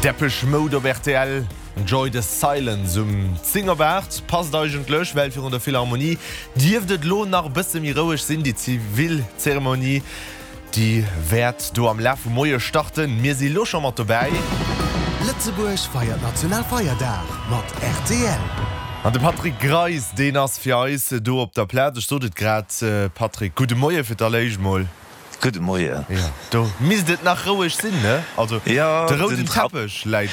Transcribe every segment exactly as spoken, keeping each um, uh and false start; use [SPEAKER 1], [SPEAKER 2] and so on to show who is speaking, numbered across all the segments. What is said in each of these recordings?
[SPEAKER 1] Depeche Mode op rtl, Enjoy the Silence um zéng op aacht. Passt eigentlech, well virun der Philharmonie dierft et lo nach e bësse méi roueg sinn. Déi zivil Zeremonie, déi wäert do am Laf vum Moie starten. Mir si lo scho mat dobäi.
[SPEAKER 2] Lëtzebuerg feiert Nationalfeierdag mat rtl.
[SPEAKER 1] An de Patrick Greis, deen ass fir eis do op der Plaz. Ech sot et grad, Patrick, gudde Moie fir d'alléischt mol.
[SPEAKER 3] Gudde Moien.
[SPEAKER 1] Jo, do misst et nach roueg sinn, ne? Also
[SPEAKER 3] Ja,
[SPEAKER 1] de rouden
[SPEAKER 3] den Tra
[SPEAKER 1] Teppech läit.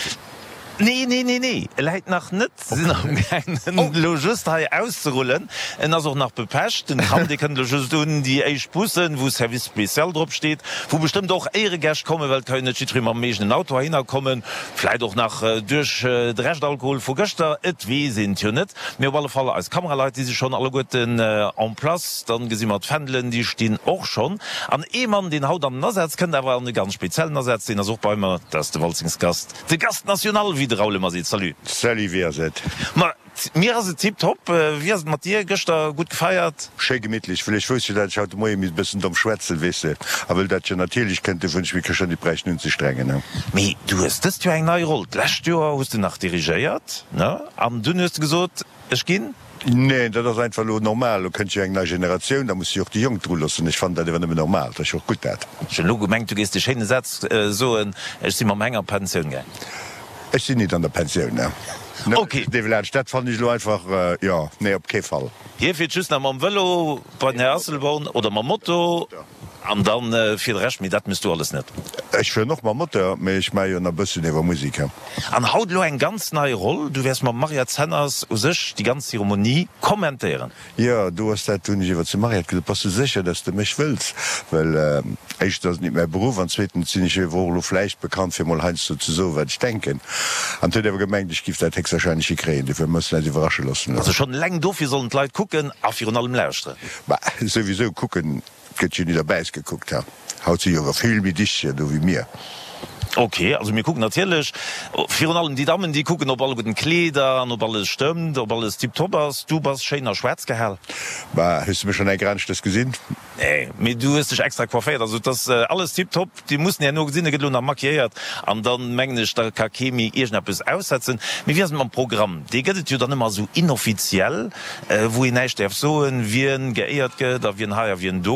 [SPEAKER 3] Nee, nee, nee, nee, e läit nach net. Sinn amgaangen, en elo just hei auszerullen. En ass och nach bepecht. Den Tram, dee kënnt elo just un. Déi éischt Bussen, wou Service spécial drop steet, wou bestëmmt och Éieregäscht kommen, well et ka jo net jiddweree mam eegenen Auto heihinner kommen. Vläit och nach duerch de Reschtalkohol vu gëschter, et weess een et jo net. Mee op alle Fall, eis Kameraleit, déi si schonn alleguerten en place. Dann gesi mer d'Fändelen, déi stinn och schonn. An ee Mann, deen haut an den Asaz kënnt, awer an e ganz speziellen Asaz, deen ass och bei mer, dat ass de Walzingsgast, de Gast national, wéi de Raoul ëmmer seet. Salut.
[SPEAKER 4] Salut, wéi ass et?
[SPEAKER 3] Ma mir ass et tiptop. Wéi ass et mat dir? Gëschter gutt gefeiert?
[SPEAKER 4] Schéi gemittlech. Well ech wousst jo, dat ech haut de Moie misst e bëssen domm schwätzen, weess de. A wëll dat jo natierlech kënnt, dofir hunn ech mech gëschter nit bräichten unzestrengen, ne.
[SPEAKER 3] Mee du hues dëst Joer eng nei Roll. D'lescht Joer hues de nach dirigéiert, ne? An dunn hues de gesot, ech ginn.
[SPEAKER 4] Neen, dat ass einfach elo normal. Elo kënnt jo eng nei Generatioun, da muss si och déi Jonk dru loossen. Ech fannen dat ewer nëmmen normal. Dat ass jo och gutt dat.
[SPEAKER 3] Ech hunn elo gemengt, du géifs de schéine Saz soen, Ech si mam Heng a Pensioun gaang.
[SPEAKER 4] Ech sinn nit an der Pensioun, ne.
[SPEAKER 3] Ok.
[SPEAKER 4] Develage, dat fannen ech elo einfach, jo, nee, op kee Fall.
[SPEAKER 3] Hie fiert just nach mam Vëlo bei den Här Asselborn oder mam Moto an dann fir de Rescht, mee dat mëss du alles net.
[SPEAKER 4] Ech fueren och mam Moteur, mee ech maache jo nach e bëssen iwwer Musek.
[SPEAKER 3] An haut elo eng ganz nei Roll, du wäers mam Mariette Zenners u sech déi ganz Zeremonie kommentéieren.
[SPEAKER 4] Jo, do ass dat, do hunn ech iwwer zum Mariette gesot, Bass du sécher, dass de mech wëlls? Well éischtens ass et nit mäi Beruff an zweetens sinn ech jo ewer och elo vläicht bekannt fir mol heiansdo ze soen, wat ech denken. An huet ewer gemengt, ech giff dat héchstwahrscheinlech hikréien. Dofir mussen eis iwwerrasche loossen.
[SPEAKER 3] Also schonn eleng dofir sollen d'Leit kucken a virun allem lauschteren.
[SPEAKER 4] Bah, souwisou kucken, et gëtt jo nit op äis gekuckt, ha. Haut si jo ewer vill méi Dichtcher do wéi mir.
[SPEAKER 3] Ok, also mir kucken natierlech, virun allem déi Dammen, déi kucken, ob alleguerten d'Kleeder an ob alles stëmmt, ob alles tiptop ass. Du bass schéin a schwaarz gehal.
[SPEAKER 4] Bah, hues de mech schonn eng Kéier aneschtes gesinn?
[SPEAKER 3] Nee, mee du hues dech extra coifféiert, also et ass alles tiptop. Déi mussen herno gesinn, e gëtt elo nach maquilléiert an dann, mengen ech, da ka kee méi iergendeppes aussetzen. Mee wéi ass et mam Programm? Dee gëtt et jo dann ëmmer esou inoffiziell, wou een näischt däerf soen, wien geéiert gëtt a wien hei a wien do.